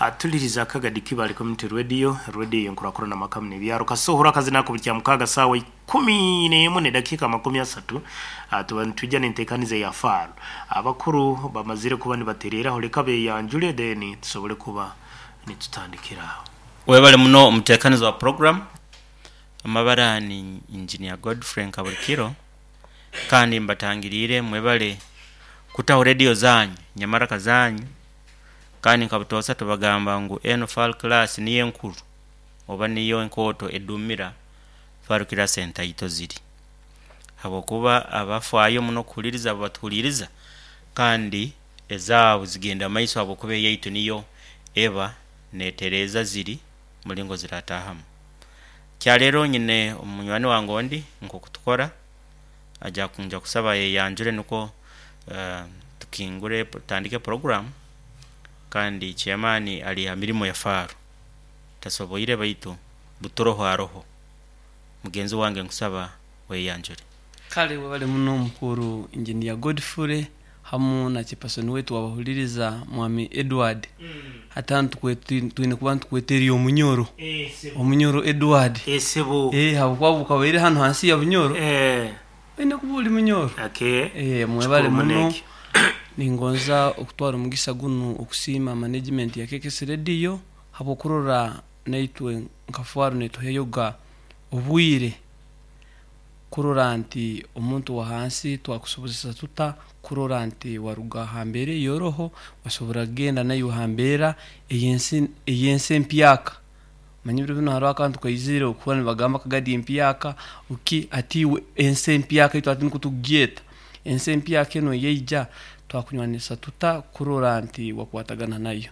Atuliriza Kagadi Kibale Community Radio, radio enkurakurana makamu n'ebyaro. Kasohora akazina ako buli Kyamukaaga saawa 11 n'edakiika 30. Tuba nitwija n'enteekaniza ya faaro. Abakuru bamazire kuba nibatereeraho, leka beyanjule then tusobole kuba nitutandikira aho. Webale muno omutekanizi wa program. Amabara ni Engineer Godfrey Nkabulikiro kandi mbatangiriire mwebale kutaho radio zanyu nyamaraka zanyu kandi nka butoosa tubagamba ngu enu Far Class niyo enkuru oba niyo enkooto edumira Far Class entaito ziri, habwokuba abafaayo muno kuhuliriza abo batuhuliriza kandi ezaabu zigenda mumaiso habwokuba eyaitu niyo eba netereeza ziri mulingo ziratahamu. Kyaleero nyine omunywani wange ondi nkoku tukora, aja nja kusaba ayeyanjure nukwo tukingure tutandike program kandi chairman ali ha mirimo ya Faro tasoboire baitu buturoho aroho. Mugenzi wange nkusaba weyanjure. Kale webale muno mukuru Engineer Godfrey hamu na chairperson waitu wabahuliriza Mwami Edward. Hati hanu twine kuba nitukweta eri Omunyoro. Omunyoro Edward. Esebo. Habwokuba obu hanu hansi ya Bunyoro. Oine kuba ori Munyoro. Okay. Mwebale Kikuru muno muno. eki. Ningonza okutwara omugisa gunu okusiima management ya KKS Radio habw'okurora naitwe nka Faro netuheyoga obwire kurora nti omuntu wa hansi twakusobozesa tuta kurora nti waruga ha mbeera ey'oroho wasobora kugenda naiwe ha mbeera ey'ensi empyaka. Manya ebiro binu haroho akantu kaizire okuhurra nibagamba Kagadi empyaka ki hati iwe ensi empyaka itwe hati nukwo tukugyeta. Ensi empyaka enu eyaija twakunywanisa tuta kurora nti wakwatagana nayo.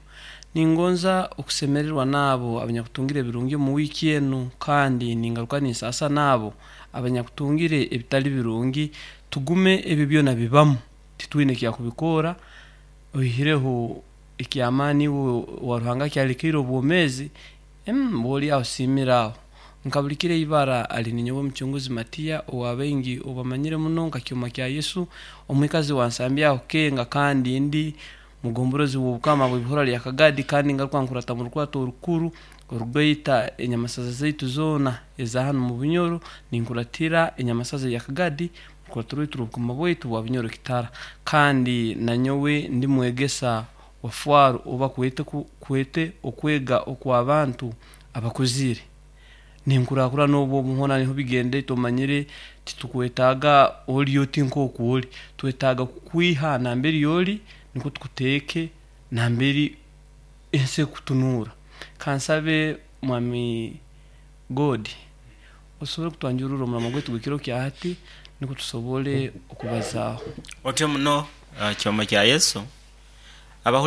Ningonza okusemererwa n'abo abanyakutungire ebirungi omu wiiki enu kandi ningaruka ninsaasa n'abo abanyakutungire ebitali birungi. Tugume ebyo byona bibamu, titwine ekyakubikoora oihireho eky'amaani iwe owa Ruhanga akyalekaire obwomeezi, bw'oli aho siimira aho. Nkabulikira ibara ali ninyowe Mucunguzi Matiya owa baingi obamanyire muno nka Kyoma kya Yesu, omwikazi wa Nsambya aho Kenga, kandi ndi mugomborozi w'obukama bw'ibihora lya Kagadi, kandi ngaruka nkurata mu rukurato orukuru orugaita enyamasaza zaitu zoona eza hanu mu Bunyoro. Ninkuratira enyamasaza ya Kagadi rukurato rwaitu rw'obukama bwaitu bwa Bunyoro Kitara, kandi nanyowe ndi mwegesa wa Faro oba kwete okwega okw'abantu abakuzire. Ninkurakurana obwo obuhona niho bigenda tomanyire titukwetaaga ori oti nk'oku ori, twetaaga kukwiha nambere ori nukwo tukuteeke nambere ensi ekutunuura. Kansabe Mwami God osobole kutwanjururra omurimo gwaitu gw'ekiro kya hati nukwo tusobole okubazaaho. Otyo muno Kyoma kya Yesu.